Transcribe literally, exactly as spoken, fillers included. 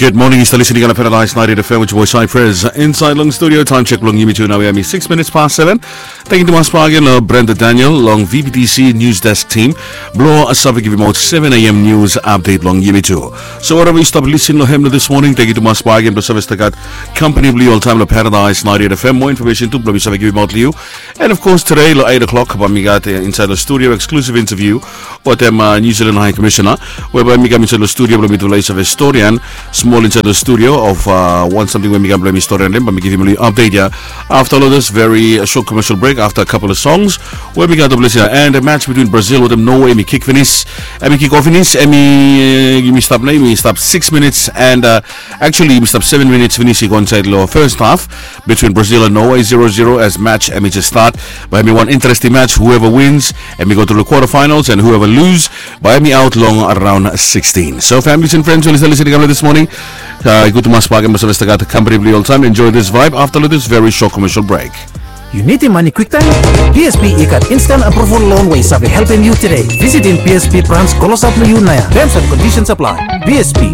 Good morning, yu stap listening long Paradise ninety-eight F M with boy Cypress. Inside long studio, time check long yumi tu nao ya hemi six minutes past seven. Thank you tumas bak agen long Brenda Daniel long V B T C News Desk team blong save givim aot seven A M news update long yumi tu. So whatever yu stap listening long hem long this morning, thank you tumas bak agen blong save stap gat company blong yu oltaem long Paradise ninety-eight F M. Mo information tu blong mi save givim aot long yu. And of course today long eight o'clock bae mi gat inside long studio exclusive interview wetem New Zealand High Commissioner, we bae mi kam inside long studio blong mitufala i save storian smol inside long studio of wan samting we mi kam blong mi storian long hem, bae mi givim long yu update ya afta long this very short commercial break afta a couple of songs we mi gat long ples ya. And a match between Brazil wetem Norway hemi kik finis, hemi kik of finis, hemi yumi stap nao yumi stap six minutes and actually yumi stap seven minutes finis i go inside long first half between Brazil and Norway, zero zero as match hemi jes stat. Bae hemi wan interesting match, whoever wins hemi go tru long quarterfinals and whoever lose bae hemi aot long round sixteen. So families and friends we oli stap listening long this morning, i gud tumas bak agen blong save stap gat company blong yu oltaem. Enjoy this vibe afta long this very short commercial break. Yu nidim mane kwiktaem? B S P i gat instant approval loan we i save helpem yu tude. Visitim B S P branch klosap long yu nao ya. Terms and conditions apply. B S P.